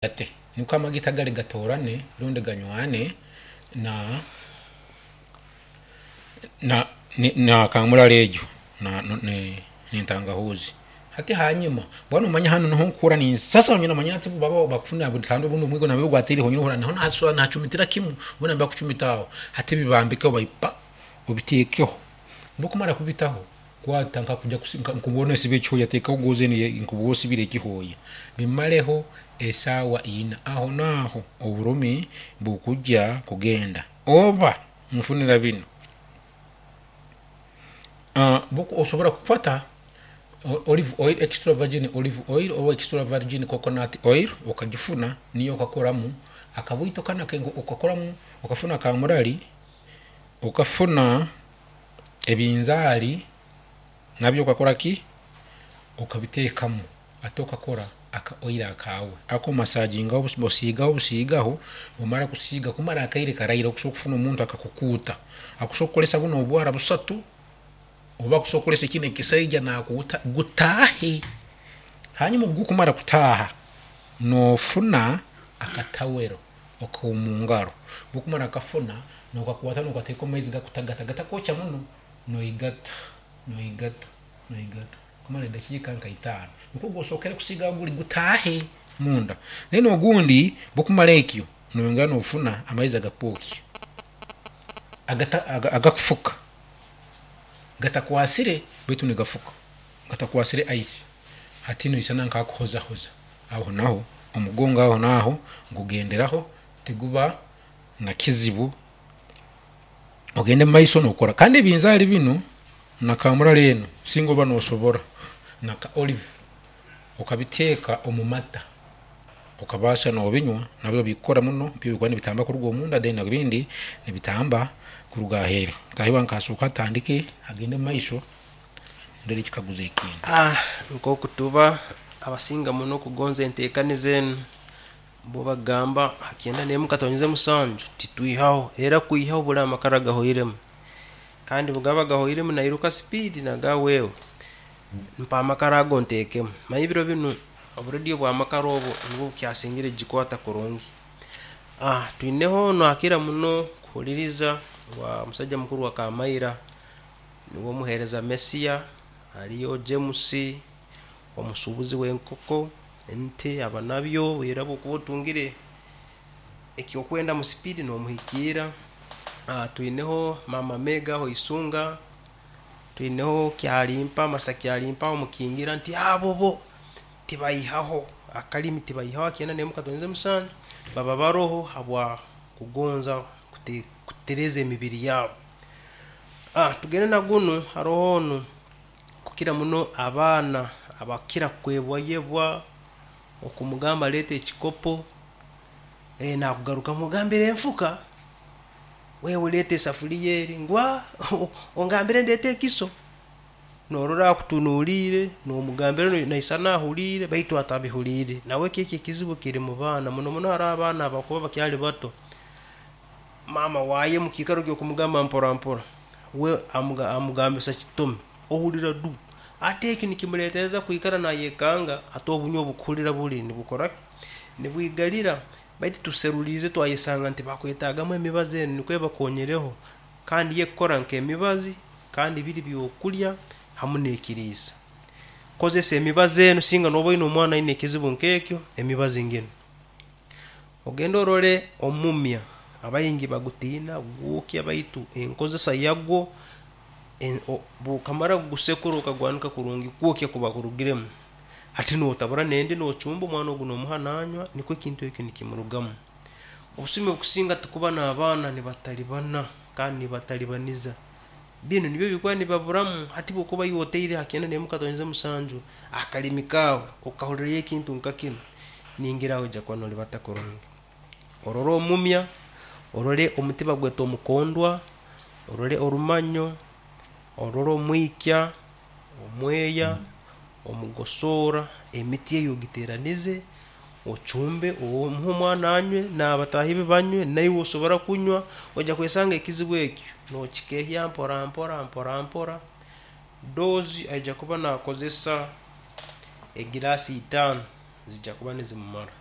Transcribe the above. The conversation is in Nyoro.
Ate nukwo amagita gali gatorane rundi ganywane na na na kamurari egyo nentangahuzi. Hati hanyuma bwana omanya hanu niho nkuhurra ninsasa onyina omanya hati baba bakufuna kandi obundi omwigo nambere gwatiire honyini ohurra niho nahacumitira kimu boona nibakucumita aho. Hati bibambikeho pa obiteekeho, obu okumara kubitaho, kwata nka nosiba ekihooya, teekaho goozi enu nkokuba osibire ekihooya, bimareho esaaha ina, aho naaho oburumi bukujya kugenda. Oba nfunira binu, osobola kukwata olive oil, extra virgin olive oil oba extra virgin coconut oil okagifuna niyo okakoramu akabwito kanu okakoramu, okafuna kamurari, okafuna ebinzaari nabyo okakora ki, okabiteekamu hati okakora aka oil akaawe, ako omasagingaho, osiigaho busiigaho, omara kusiiga kumara akaire karaire, osobola kufuna omuntu akakukuuta, akusobola kukozesa bunu obwara busatu oba akusobola kukozesa kinu ekisaija nakuuta gutaahe. Hanyuma obu gukumara kutaaha, nofuna akatawero akomungaro, obu okumara kukafuna, nokakwata nokateeka mumaizi gakutagata gatakwokya muno, noigata, noigata, noigata kumara edakiika nka itaano, nikwo osookere kusiigaho guli gutaahe munda. Then ogundi obu okumara ekyo, noyongera nofuna amaizi agakwokya, agakufuka, gatakwasire baitu nigafuka, gatakwasire ice, hati noisana nkakuhozahoza, aho naho omugongo aho naaho gugenderaho tiguba nakizibu, ogende mumaiso nokora. Kandi ebinzaari binu na kamurari enu, singa oba nosobora naka olive, okabiteeka omumata, okabaasa nobinywa, nabyo bikukora muno, bikuba nibitamba kuruga omunda then ebindi nibitamba kuruga aheeru. Mutaahi wange kasooke atandike agende mumaiso ndore ekikaguzo ekindi. Nkoku tuba abasinga muno kugonza entekaniza enu, bo bagamba ha 91.7 titwihaho, era kwihaho buli amakara gahoiremu, kandi bugaba gahoiremu nairuka speed nagamba wewe mpa amakara ago ntekemu. Manya ebiro binu obu radio bw'amakara obu nubwo bukyasingire kugikwata kurungi. Twineho onu akira muno kuhuliriza wa musaija mukuru wa Kamaira, nuwe omuheereza Mesiya, hariyo James omusuubuzi w'enkoko, ente abanabyo, era obu okuba otungire ekyokwenda mu speed nomuhikiira. Twineho maama Mega aho Isunga, twineho Kyalimpa, Masa Kyalimpa aho Mukingira nti abo bo tibaihaho akalimi, tibaihaho 91.7 baba baroho habwa kugonza kutereeza emibiri yabo. Tugende na gunu, haroho onu kukira muno abaana abakira kwebwayebwa, okumugamba leeta ekikopo, nakugarukamu ogambire enfuka, wewe leeta esafuriya eri, ngu ongambire ndeete ekiso, norora akutunuliire, nomugambira naisana ahuliire baitu atabihuliire. Nawe eki ekizibu kiri mubaana, muno muno haroho abaana abakuba bakyali bato, maama waaye mukiikaro ky'okumugamba mpora mpora, we amugambisa kitomi, ohurra du, hati eki nikimuleetereza kwikara nayekanga, hati obunywa obukuhurra buli nibukora ki, nibwigarira. Baitu tuseruliirize twayesanga nti bakwetagamu emibazi enu nikwo ebakonyereho, kandi yo ekukora nk'emibazi, kandi biri byokulya hamu n'ekiriisa. Kozesa emibazi enu singa noba oyine omwana ayine ekizibu nk'ekyo, emibazi nginu. Ogende orole omumya, abaingi bagutiina gwokya baitu enkozesa yagwo, obu okamara kugusekura okagwanika kurungi, kwokya kuba kurugiremu, hati notabura n'endi nochumba omwana ogu nomuha nanywa nikwo ekintu eki nikimurugamu. Obusumi obukusinga tukuba n'abaana nibatalibana kandi nibatalibaniza, binu nibyo bikuba nibaburamu. Hati obu okuba iwe otaire ha 91.7 akalimi kaawe okahurrayo ekintu nka kinu, ningira noija kuba noribata kurungi. Orole omumya, orole omuti bagweta omukondwa, orole orumanyo, orole omwikya, omweya, omugosoora, emiti egi ogiteranize, ochumbe omuhe omwana anywe, n'abataahi be banywe, naiwe osobora kunywa, noija kwesanga ekizibu eki nokikehya mpora mpora mpora mpora. Dose aija kuba nakozesa egiraasi itaano ziija kuba nizimumara.